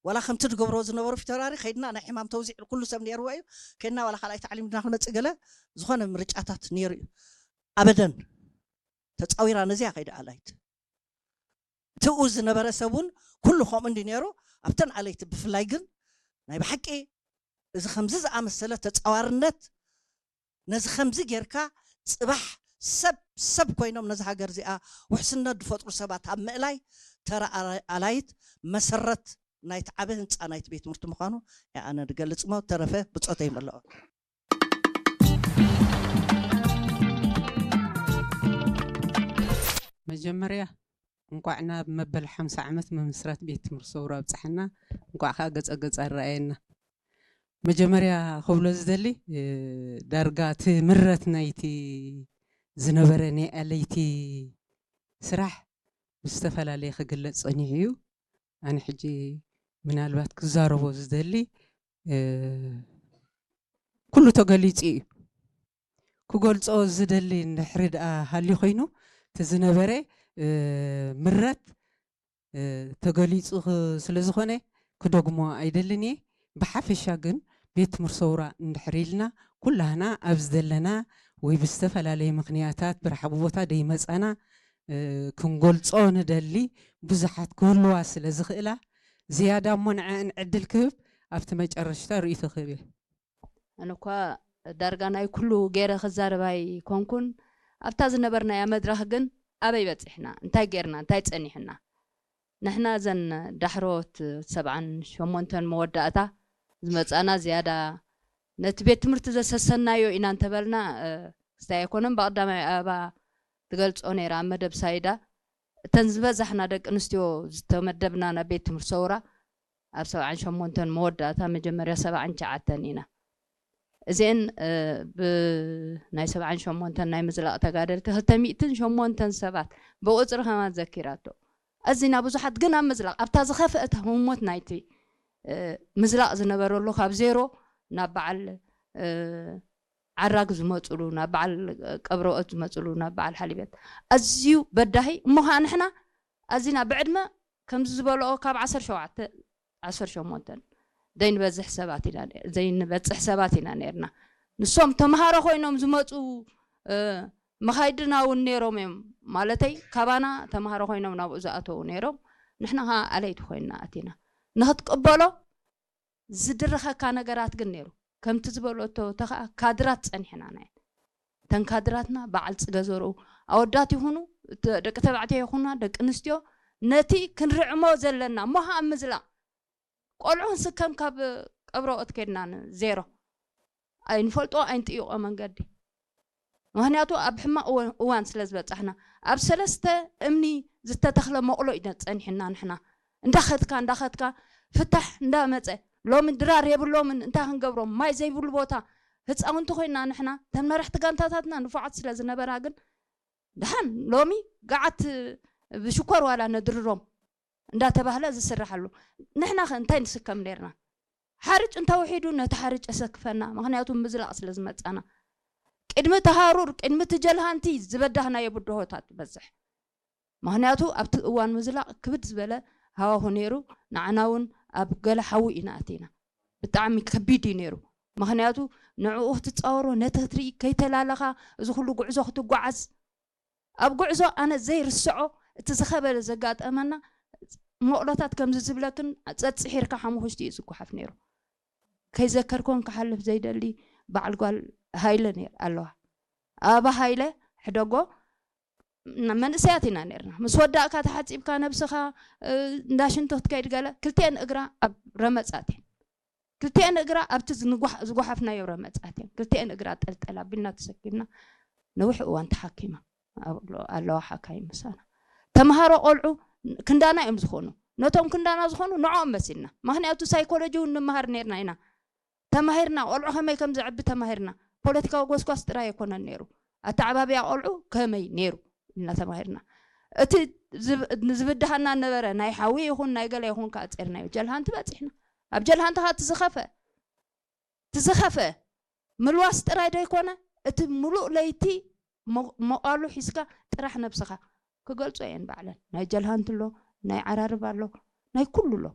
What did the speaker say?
ዋላ ከምቲ ዝገብሮ ዝነበሩ ፊተራሪ ከይድና ናይ ሕማም ተውዚዕ ኩሉ ሰብ ነይርዎ እዩ። ከይድና ዋላ ካልኣይ ታዕሊም ድና ክመፅእ ገለ ዝኾነ ምርጫታት ነይሩ እዩ። ኣበደን ተፃዊራ ነዚያ ከይዳ ኣላይት ትኡ ዝነበረ ሰብ እውን ኩሉ ከምኡ እንዲ ነይሩ። ኣብተን ኣለይቲ ብፍላይ ግን ናይ ብሓቂ እዚ ከምዚ ዝኣመሰለ ተፃዋርነት፣ ነዚ ከምዚ ጌርካ ፅባሕ ሰብ ሰብ ኮይኖም ነዚ ሃገር እዚኣ ውሕስነት ዝፈጥሩ ሰባት ኣብ ምእላይ ተራ ኣላይት መሰረት ናይቲ ዓበ ህንፃ ናይቲ ቤት ትምህርቲ ምዃኑ ኣነ ዝገልፅ ሞ ተረፈ ብፆተይ መለኦ። መጀመርያ እንቋዕ ናብ መበል ሓምሳ ዓመት ምምስራት ቤት ትምህርቲ ሰውራ ኣብፀሐና። እንቋዕ ከዓ ገፀ ገፅ ኣረኣየና። መጀመርያ ክብሎ ዝደሊ ዳርጋ እቲ ምረት ናይቲ ዝነበረ ናይ ኣለይቲ ስራሕ ብዝተፈላለየ ክግለፅ ፀኒሑ እዩ። ኣነ ሕጂ ምናልባት ክዛረቦ ዝደሊ ኩሉ ተገሊፁ እዩ። ክገልፆ ዝደሊ እንድሕሪ ደኣ ሃልዩ ኮይኑ እቲ ዝነበረ ምረት ተገሊፁ ስለ ዝኾነ ክደግሞ ኣይደልን እየ። ብሓፈሻ ግን ቤት ትምህርቲ ሰውራ እንድሕር ኢልና ኩላህና ኣብዚ ዘለና ወይ ብዝተፈላለየ ምክንያታት ብረሓቡ ቦታ ደይመፃና ክንገልፆ ንደሊ ብዙሓት ክህልዋ ስለ ዝኽእላ ዝያዳ እሞ ንዐአን ዕድል ክህብ ኣብቲ መጨረሽታ ርእይቶ ክህብ እየ። ኣነ እኳ ዳርጋ ናይ ኩሉ ገይረ ክዛረብ ኣይኮንኩን። ኣብታ ዝነበርናያ መድረኽ ግን ኣበይ በፂሕና፣ እንታይ ገይርና፣ እንታይ ፀኒሕና? ንሕና እዘን ዳሕሮት ሰብዓን ሸሞንተን መወዳእታ ዝመፃና ዝያዳ ነቲ ቤት ትምህርቲ ዘሰሰናዮ ኢና እንተበልና ክስታይ ኣይኮነን። ብቐዳማይ ኣበባ ትገልፆ ነይራ ኣብ መደብ ሳይዳ እተን ዝበዛሕና ደቂ ኣንስትዮ ዝተመደብና ናብ ቤት ትምህርቲ ሰውራ ኣብ ሰብዓን ሸሞንተን መወዳእታ መጀመርያ ሰብዓን ትሽዓተን ኢና። እዚአን ብናይ ሰብዓን ሸሞንተን ናይ ምዝላቕ ተጋደልቲ ክልተ ሚእትን ሸሞንተን ሰባት ብቁፅሪ ከማን ዘኪራቶ። ኣዚና ብዙሓት ግን ኣብ ምዝላቕ ኣብታ ዝኸፍአት ህሞት ናይቲ ምዝላቕ ዝነበረሉ ካብ ዜሮ ናብ በዓል ዓራግ ዝመፅሉ ናብ በዓል ቀብረኦት ዝመፅሉ ናብ በዓል ሓሊበት ኣዝዩ በዳሂ እሞ ከዓ ንሕና ኣዚና ብዕድመ ከምዚ ዝበልኦ ካብ ዓሰርተ ሸውዓተ ዓሰርተ ሸሞንተ ዘይንበዝሕ ሰባት ኢና ዘይንበፅሕ ሰባት ኢና ነርና። ንሶም ተምሃሮ ኮይኖም ዝመፁ መኻይድና እውን ነይሮም እዮም። ማለተይ ካባና ተምሃሮ ኮይኖም ናብኡ ዝኣተዉ ነይሮም። ንሕና ከዓ ኣለይቲ ኮይንና ኣቲና ንክትቅበሎ ዝድርኸካ ነገራት ግን ነይሩ። ከምቲ ዝበለቶ ተኸኣ ካድራት ፀኒሕና ናይ እተን ካድራትና በዓል ፅገ ዘርኡ ኣወዳት ይኹኑ ደቂ ተባዕትዮ ይኹና ደቂ ኣንስትዮ ነቲ ክንርዕሞ ዘለና እሞ ከዓ ምዝላቕ ቆልዑ ክንስከም ካብ ቀብረኦት ከድና ዜሮ ኣይንፈልጦ ኣይንጥይቆ መንገዲ ምክንያቱ ኣብ ሕማቕ እዋን ስለ ዝበፃሕና ኣብ ሰለስተ እምኒ ዝተተኽለ መቕሎ ኢና ፀኒሕና ንሕና እንዳኸድካ እንዳኸድካ ፍታሕ እንዳመፀ ሎሚ ድራር የብሎምን እንታይ ክንገብሮም ማይ ዘይብሉ ቦታ ህፃውንቲ ኮይና ንሕና ተን መራሕቲ ጋንታታትና ንፉዓት ስለ ዝነበራ ግን ድሓን ሎሚ ገዓት ብሽኮር ዋላ ነድርሮም እንዳተባህለ ዝስርሓሉ ንሕና ከ እንታይ ንስከም ነርና ሓርጭ እንተውሒዱ ነቲ ሓርጭ የሰክፈና ምክንያቱ ምዝላቕ ስለ ዝመፃና ቅድሚ ተሃሩር ቅድሚ ትጀልሃንቲ ዝበዳህናዮ ብድሆታት ትበዝሕ ምክንያቱ ኣብቲ እዋን ምዝላቕ ክብድ ዝበለ ሃዋሁ ነይሩ ንዓና እውን ኣብ ገለ ሓዊ ኢና ኣቲና ብጣዕሚ ከቢድ እዩ ነይሩ ምክንያቱ ንዕኡ ክትፃወሮ ነቲ ክትርኢ ከይተላለኻ እዚ ኩሉ ጉዕዞ ክትጓዓዝ ኣብ ጉዕዞ ኣነ ዘይርስዖ እቲ ዝኸበደ ዘጋጠመና መቕሎታት ከምዚ ዝብለክን ፀፅሒርካ ሓሙኽሽቲ እዩ ዝጓሓፍ ነይሩ ከይዘከርኮን ክሓልፍ ዘይደሊ በዓል ጓል ሃይለ ነይር ኣለዋ ኣባ ሃይለ ሕደጎ መንእሰያት ኢና ነርና ምስ ወዳእካ ተሓፂብካ ነብስኻ እንዳሽንቲ ክትከይድ ገለ ክልቲአን እግራ ኣብ ረመፃት እየን ክልቲአን እግራ ኣብቲ ዝጓሓፍናዮ ረመፃት እየን ክልቲአን እግራ ጠልጠል ኣቢልና ተሰኪምና ነዊሕ እዋን ተሓኪማ ኣለዋ ሓካይ ምሳና ተምሃሮ ቆልዑ ክንዳና እዮም ዝኾኑ ነቶም ክንዳና ዝኾኑ ንዕኦም መሲልና ምክንያቱ ሳይኮሎጂ እውን ንምሃር ነርና ኢና ተማሂርና ቆልዑ ከመይ ከም ዘዕቢ ተማሂርና ፖለቲካዊ ጎስጓስ ጥራይ ኣይኮነን ነይሩ ኣተዓባብያ ቆልዑ ከመይ ነይሩ ኢልና ተማሂርና እቲ ዝብድሃና ነበረ ናይ ሓዊ ይኹን ናይ ገለ ይኹን ከዓ ጼርናዮ ጀልሃንቲ በፂሕና ኣብ ጀልሃንቲ ከዓ ትዝኸፈ ትዝኸፈ ምልዋስ ጥራይ ዶ ይኮነ እቲ ሙሉእ ለይቲ መቃሉ ሒዝካ ጥራሕ ነብስኻ ክገልጾ እየን ባዕለን ናይ ጀልሃንቲ ኣሎ ናይ ዓራርብ ኣሎ ናይ ኩሉ ኣሎ